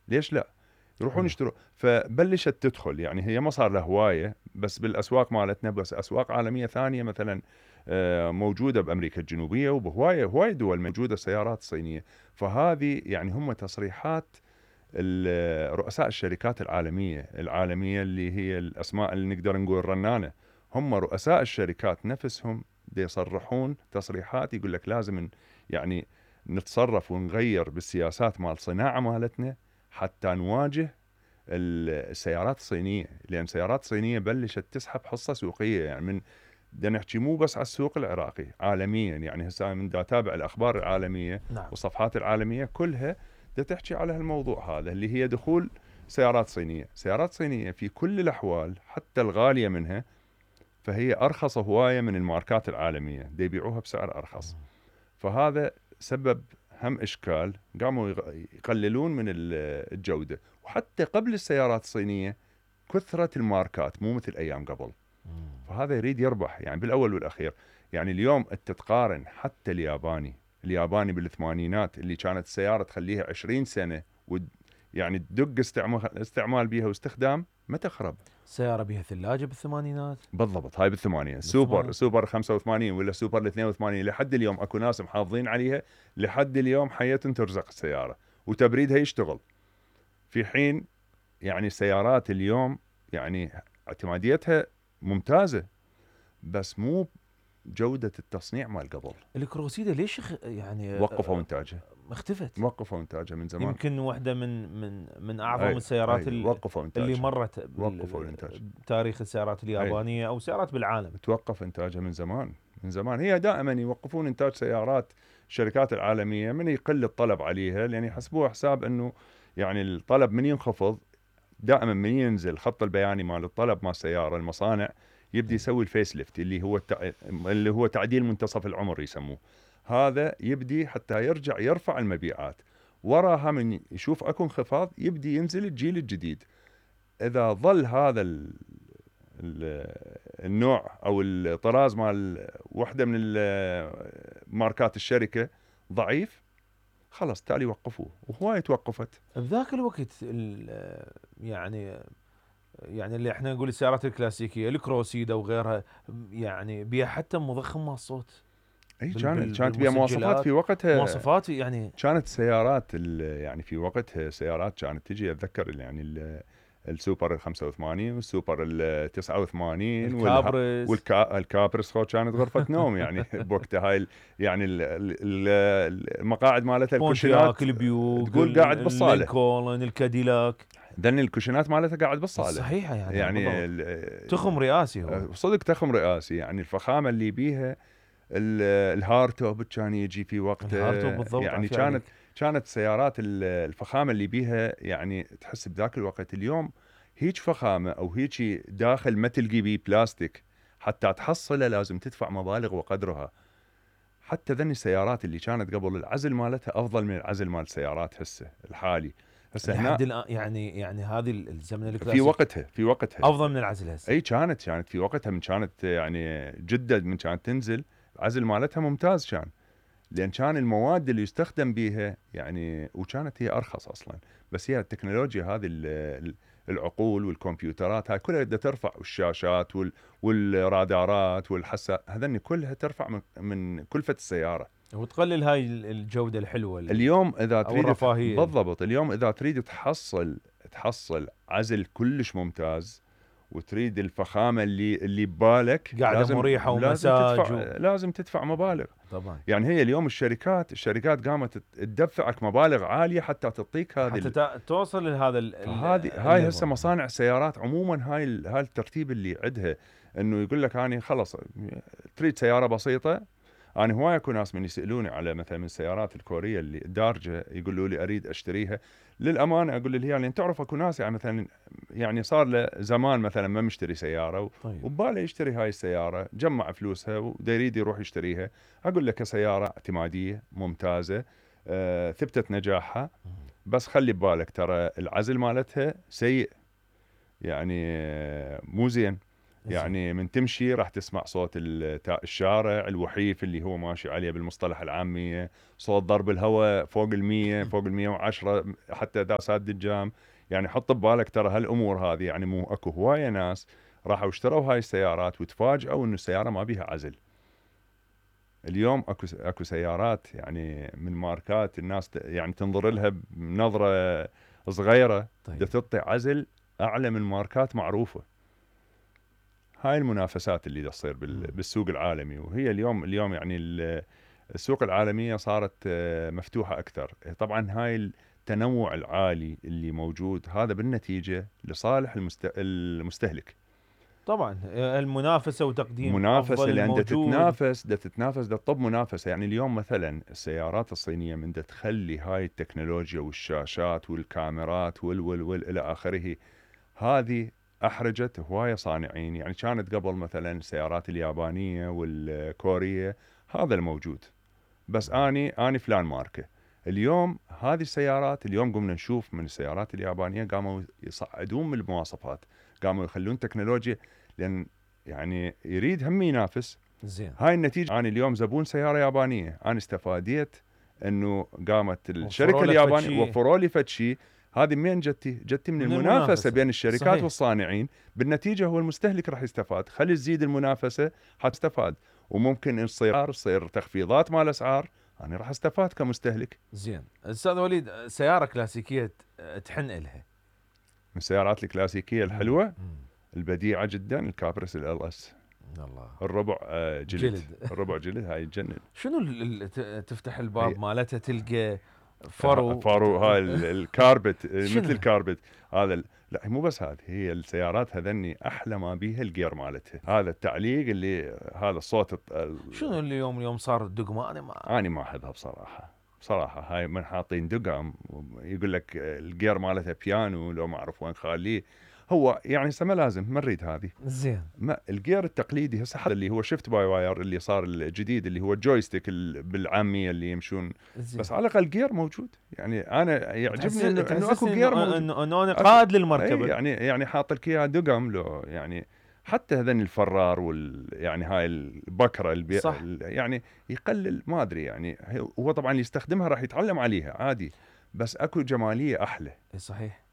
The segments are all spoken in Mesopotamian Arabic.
ليش لا يروحون يشتروا. فبلشت تدخل، يعني هي ما صار لها هوايه بس بالاسواق مالتنا، بس اسواق عالميه ثانيه مثلا موجوده بامريكا الجنوبيه وبهوايه دول موجوده سيارات صينيه. فهذه يعني هم تصريحات رؤساء الشركات العالميه اللي هي الاسماء اللي نقدر نقول رنانه، هم رؤساء الشركات نفسهم بيصرحون تصريحات يقول لك لازم يعني نتصرف ونغير بالسياسات مال صناعه مالتنا حتى نواجه السيارات الصينيه، لان السيارات الصينيه بلشت تسحب حصه سوقيه. يعني من بدنا نحكي مو بس على السوق العراقي، عالميا. يعني هسه من دا اتابع الاخبار العالميه نعم. والصفحات العالميه كلها دا تحكي على هالموضوع هذا اللي هي دخول سيارات صينيه. سيارات صينيه في كل الاحوال حتى الغاليه منها فهي ارخص هوايه من الماركات العالميه، دا يبيعوها بسعر ارخص. فهذا سبب هم اشكال، قاموا يقللون من الجوده. وحتى قبل السيارات الصينيه كثره الماركات مو مثل ايام قبل. فهذا يريد يربح يعني بالاول والاخير. يعني اليوم انت تقارن حتى الياباني بالثمانينات اللي كانت السياره تخليها 20 سنه يعني تدق استعمال بيها واستخدام ما تخرب. سيارة بها ثلاجة بالثمانينات بالضبط، هاي بالثمانينات. سوبر 85 ولا سوبر 82 لحد اليوم اكو ناس محافظين عليها، لحد اليوم حياة ترزق السيارة وتبريدها يشتغل. في حين يعني السيارات اليوم يعني اعتماديتها ممتازة بس مو جودة التصنيع مال قبل. الكروسيدا ليش يعني وقفوا انتاجها، اختفت؟ وقفوا انتاجها من زمان. يمكن واحدة من اعظم السيارات اللي مرت بتاريخ السيارات اليابانية او سيارات بالعالم. توقف انتاجها من زمان. هي دائما يوقفون انتاج سيارات الشركات العالمية من يقل الطلب عليها، لان يحسبوها حساب انه يعني الطلب من ينخفض دائما من ينزل خط البياني مال الطلب مال السيارة، المصانع يبدي يسوي الفيس ليفت اللي هو تعديل منتصف العمر يسموه. هذا يبدي حتى يرجع يرفع المبيعات. وراها من يشوف اكو انخفاض يبدي ينزل الجيل الجديد. اذا ظل هذا النوع او الطراز مال وحده من ماركات الشركه ضعيف، خلاص تالي وقفوه. وهواي توقفت بذاك الوقت. يعني اللي احنا نقول السيارات الكلاسيكيه الكروسيدا وغيرها يعني بيها حتى مضخم مال الصوت. اي كانت بيها مواصفات في وقتها، مواصفات يعني كانت سيارات يعني في وقتها سيارات كانت تجي اتذكر يعني السوبر ال 85 والسوبر ال 89 والكابرس كانت غرفه نوم يعني بوقتها. هاي يعني المقاعد مالتها الكوشنات البيوك تقول قاعد بالصاله، اللينكولن الكاديلاك، ذن الكوشنات مالتها قاعد بالصاله صحيحه. يعني تخم رئاسي هو صدق، تخم رئاسي. يعني الفخامه اللي بيها الهارتوب كان يجي في وقته. يعني كانت سيارات الفخامه اللي بيها يعني تحس بذاك الوقت. اليوم هيج فخامه او هيج داخل ما تلقي بيه بلاستيك حتى تحصله لازم تدفع مبالغ وقدرها. حتى ذني السيارات اللي كانت قبل العزل مالتها افضل من العزل مال السيارات هسه الحالي. هسه لحد الان يعني هذه الزمن الكلاسيك في وقتها افضل من العزل هسه. اي كانت في وقتها من كانت يعني جدا من كانت تنزل العزل مالتها ممتاز كان، لان كان المواد اللي يستخدم بيها يعني وكانت هي ارخص اصلا. بس هي التكنولوجيا هذه العقول والكمبيوترات هاي كلها بدها ترفع، والشاشات والرادارات والحساس هذني كلها ترفع من كلفة السيارة وتقلل هاي الجودة الحلوة اليوم اذا تريد الرفاهية. بالضبط. اليوم اذا تريد تحصل عزل كلش ممتاز وتريد الفخامه اللي ببالك، قاعده مريحه ومساج لازم تدفع مبالغ طبعا. يعني هي اليوم الشركات قامت تدفعك مبالغ عاليه حتى تعطيك هذه حتى توصل لهذا هاي هسه مصانع سيارات عموما هاي الترتيب اللي عندها انه يقول لك اني خلص تريد سياره بسيطه. انا هواي اكو ناس من يسالوني على مثلا من السيارات الكوريه اللي دارجه يقولوا لي اريد اشتريها. للامانه اقول لي يعني تعرف اكو ناس يعني مثلا يعني صار له زمان مثلا ما مشتري سياره وباله يشتري هاي السياره، جمع فلوسها ودا يريد يروح يشتريها. اقول لك سياره اعتماديه ممتازه، ثبتت نجاحها، بس خلي ببالك ترى العزل مالتها سيء يعني مو زين. يعني من تمشي راح تسمع صوت الشارع الوحيف اللي هو ماشي عليه بالمصطلح العامية، صوت ضرب الهواء فوق المية فوق 110 حتى داسات دجام. يعني حط ببالك ترى هالامور هذه، يعني مو اكو هواية ناس راحوا اشتروا هاي السيارات وتفاجئوا انه السيارة ما بيها عزل. اليوم اكو سيارات يعني من ماركات الناس يعني تنظر لها بنظرة صغيرة، طيب. تعطي عزل اعلى من ماركات معروفة. هاي المنافسات اللي تصير بالسوق العالمي. وهي اليوم يعني السوق العالمية صارت مفتوحة أكثر. طبعا هاي التنوع العالي اللي موجود هذا بالنتيجة لصالح المستهلك. طبعا المنافسه وتقديم منافسة افضل لأن الموجود. تتنافس تطب منافسة. يعني اليوم مثلا السيارات الصينية من تخلي هاي التكنولوجيا والشاشات والكاميرات وال إلى آخره، هذه أحرجت هواية صانعين. يعني كانت قبل مثلا السيارات اليابانية والكورية هذا الموجود، بس أني فلان ماركة. اليوم هذه السيارات اليوم قمنا نشوف من السيارات اليابانية قاموا يصعدون من المواصفات، قاموا يخلون تكنولوجيا، لأن يعني يريد هم ينافس. زين. هاي النتيجة. أنا اليوم زبون سيارة يابانية، أنا استفاديت أنه قامت الشركة اليابانية وفروا لي فد شيء. هذه من جتي من المنافسة بين الشركات صحيح. والصانعين. بالنتيجة هو المستهلك راح يستفاد. خلي تزيد المنافسة حتستفاد، وممكن تصير تخفيضات مال الأسعار، أنا راح استفاد كمستهلك. زين استاذ وليد، سيارة كلاسيكية تحن إلها؟ من السيارات الكلاسيكية الحلوة البديعة جدا الكابرس LS. الله. الربع جلد. الربع جلد هاي تجنن. شنو تفتح الباب مالتها تلقى فرو هاي الكاربت مثل الكاربت هذا. لا مو بس هذه هي السيارات هذني احلى ما بيها الجير مالتها، هذا التعليق اللي هذا الصوت. شنو اليوم صار الدقم؟ انا ما احبها بصراحه هاي من حاطين دقم يقول لك الجير مالتها بيانو لو ما اعرف وين خاليه. هو يعني ما لازم ما نريد هذه. زين. ما الجير التقليدي هسه اللي هو شيفت باي واير اللي صار الجديد اللي هو الجويستيك بالعاميه اللي يمشون زين. بس على الاقل جير موجود. يعني انا يعجبني انه اكو جير موجود، انه انا قائد للمركبه. يعني حاط لك اياها دقم لو يعني حتى هذن الفرار يعني هاي البكره يعني يقلل ما ادري. يعني هو طبعا اللي يستخدمها راح يتعلم عليها عادي، بس اكو جماليه احلى. صحيح.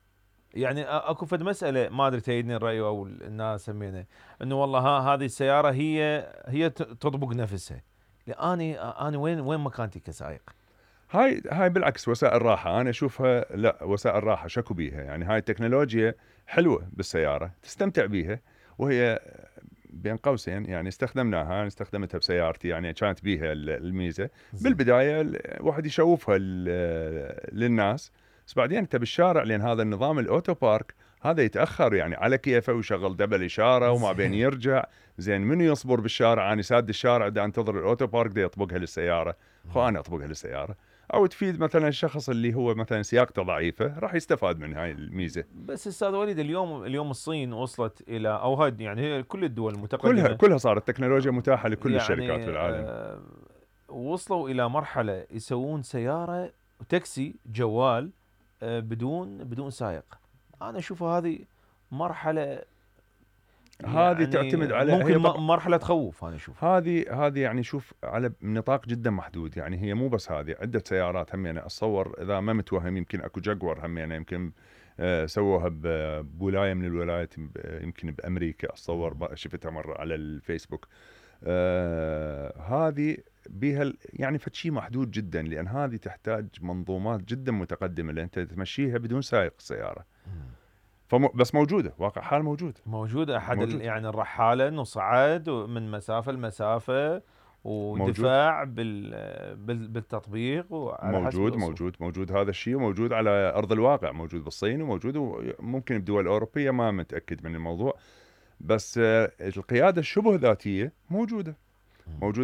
يعني اكو فد مساله ما ادري تأيدني الراي او الناس سمينا انه والله هذه السياره هي تطبق نفسها. انا وين مكانتي كسائق؟ هاي بالعكس وسائل راحه انا اشوفها. لا وسائل راحه شكو بيها. يعني هاي التكنولوجيا حلوه بالسياره تستمتع بيها، وهي بين قوسين يعني استخدمناها. استخدمتها بسيارتي يعني كانت بيها الميزه بالبدايه الواحد يشوفها للناس، بس بعدين انت بالشارع لان هذا النظام الاوتو بارك هذا يتاخر يعني على كيفه ويشغل دبل اشاره وما بين يرجع. زين منو يصبر بالشارع؟ انا ساد الشارع دا انتظر الاوتو بارك دا يطبقها للسياره، انا اطبقها للسياره. او تفيد مثلا الشخص اللي هو مثلا سياقته ضعيفه راح يستفاد من هاي الميزه. بس استاذ وليد اليوم الصين وصلت الى او هاي يعني هي كل الدول المتقدمه كلها صارت تكنولوجيا متاحه لكل يعني الشركات بالعالم. وصلوا الى مرحله يسوون سياره وتاكسي جوال بدون سائق. انا اشوف هذه مرحله هذه يعني تعتمد على ممكن مرحله تخوف. انا اشوف هذه يعني شوف على نطاق جدا محدود. يعني هي مو بس هذه، عده سيارات هم يعني اتصور اذا ما متوهم يمكن اكو جاكور هم يعني يمكن سووها بولايه من الولايات يمكن بامريكا اتصور شفتها مره على الفيسبوك. هذه بيها يعني فشي محدود جدا، لان هذه تحتاج منظومات جدا متقدمه لان انت تمشيها بدون سائق السياره. بس موجوده واقع حال موجوده احد يعني الرحاله انه صعد من مسافه لمسافه ودفاع بالتطبيق وعلى موجود هذا الشيء، وموجود على ارض الواقع، موجود بالصين وموجود ممكن بدول اوروبيه ما متاكد من الموضوع. بس القياده الشبه ذاتيه موجوده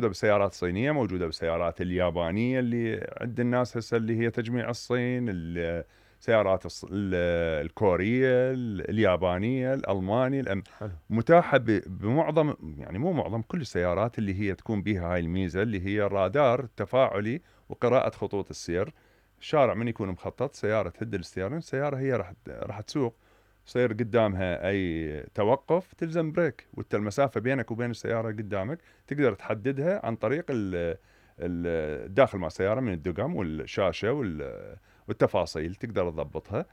بالسيارات الصينيه، موجوده بالسيارات اليابانيه اللي عند الناس هسه اللي هي تجميع الصين، السيارات الكوريه، اليابانيه، الالماني متاحه بمعظم يعني مو معظم كل السيارات اللي هي تكون بها هاي الميزه اللي هي الرادار التفاعلي وقراءه خطوط السير. الشارع من يكون مخطط سياره تهد الستيرن، السياره هي راح تسوق يصير قدامها اي توقف تلزم بريك، وانت المسافه بينك وبين السياره قدامك تقدر تحددها عن طريق الداخل مع السياره من الدقم والشاشه والتفاصيل تقدر تضبطها.